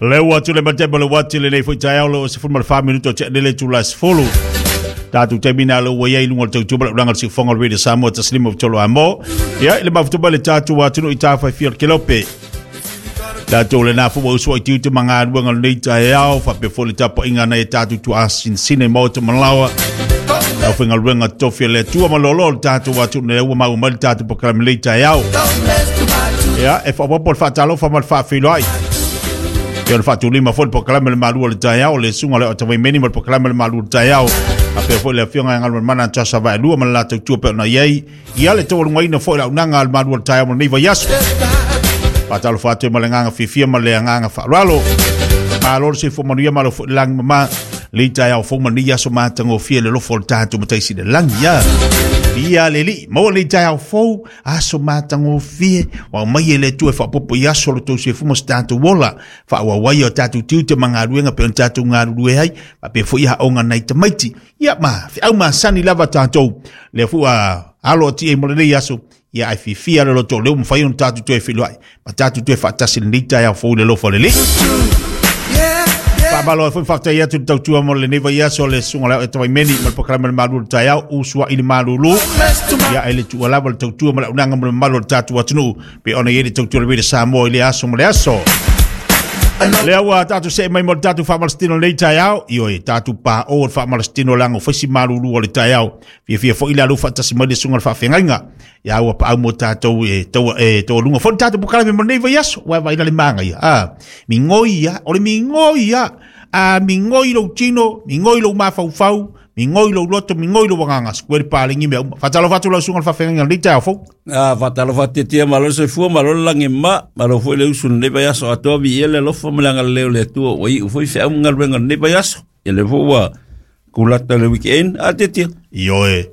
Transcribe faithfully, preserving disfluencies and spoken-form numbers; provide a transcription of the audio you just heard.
Le ua tule matema le wati le nei foi taeao le o sefulu ma le fa minuto te lele tula sefulu. Tātou taimina le ua iai lunga o le tautua ma le ulaga o le siufoga o le Radio Samoa tasi lima tolu amo. Ia, i le mafuta le tātou atunuu i tāwhai fia o le kelope. Tātou le nā fua usua i tiute ma ngā ruanga o lenei taeao, whapea foi le tapuaiga nai e tātou tuasisinasina i maota ma laoa. Au whaingaluega tofi a le Atua ma lolo le tātou atunuu le ua maua mai le tātou polokalame lenei taeao. Ia, e whawapo le whaatalofa ma le whaafeiloai. Ia o le whaatulima foi le polokalame le malu o le taeao, le suga le o tawaimeni ma le polokalame le malu o le taeao. Apea foi le afioga e galuega mana tasa vaelua ma le latou tua pe ona i ai. Ia le taualugaina foi le auaunaga a le malu o le taeao mo lenei vaiaso. Faatalofa atu ai ma le agaga fiafia ma le agaga faaaloalo. Malo le soifua manuia malo foi le lagi mama. Lei taeao fou ma lenei aso matagofie le alofa o le tatou Mataisi i le lagi ia. Ia le alii, maua lenei taeao fou, aso matagofie, ua aumai e le Atua e faaopoopo i aso o le tou soifua ma se tatou ola. Faaauau ai o tatou tiute ma galuega pe ona tatou galulue ai, faapea foi aoga nai tamaiti. Ia ma feau masani lava tatou. Lea foi ua alo atu i ai mo lenei aso, ia ai fiafia le loto o lea ua mafai ona tatou toe feiloai, ma tatou toe faatasi i lenei taeao fou i le alofa o le Alii. Faamalo ai foi faafetai atu i le tautua mo lenei vaiaso le susuga o le Ao Etawaimeni ma le polokalame le malu o le taeao usuai le malulu. Ia e le tuua lava le tautua ma le auaunaga mo le mamalu o le tatou atunuu pe ona i ai le tautua o le Radio Samoa i le aso ma le aso. Lea ua tatou see mai mo le tatou faamalositino lenei taeao. Ioe, tatou paʻo le faamalositino leaga o faisi malulu o le taeao. Fiafia foi le alu faatasi mai le susuga o le faafeagaiga. Ia ua paau mo tatou e tau e taualuga foi le tatou polokalame mo lenei vaiaso. Ua vaai la le magaia. Ah, migoi ia, o le migoi ia. A migoi lou tino, migoi lou mafaufau, migoi lou loto, migoi lou agaga. Sikuele palagi mea uma. Faatalofa atu lau susuga o le faafeagaiga lenei taeao fou. Ah, faatalofa atu malo le soifua, malo le lagi ma, malo foi le usu lenei vaiaso atoa viia le alofa ma le agalelei o le Atua ua iu foi feau ma galuega o lenei vaiaso. Ia lea foi ua kulata le weekend, a tiatia. Ioe.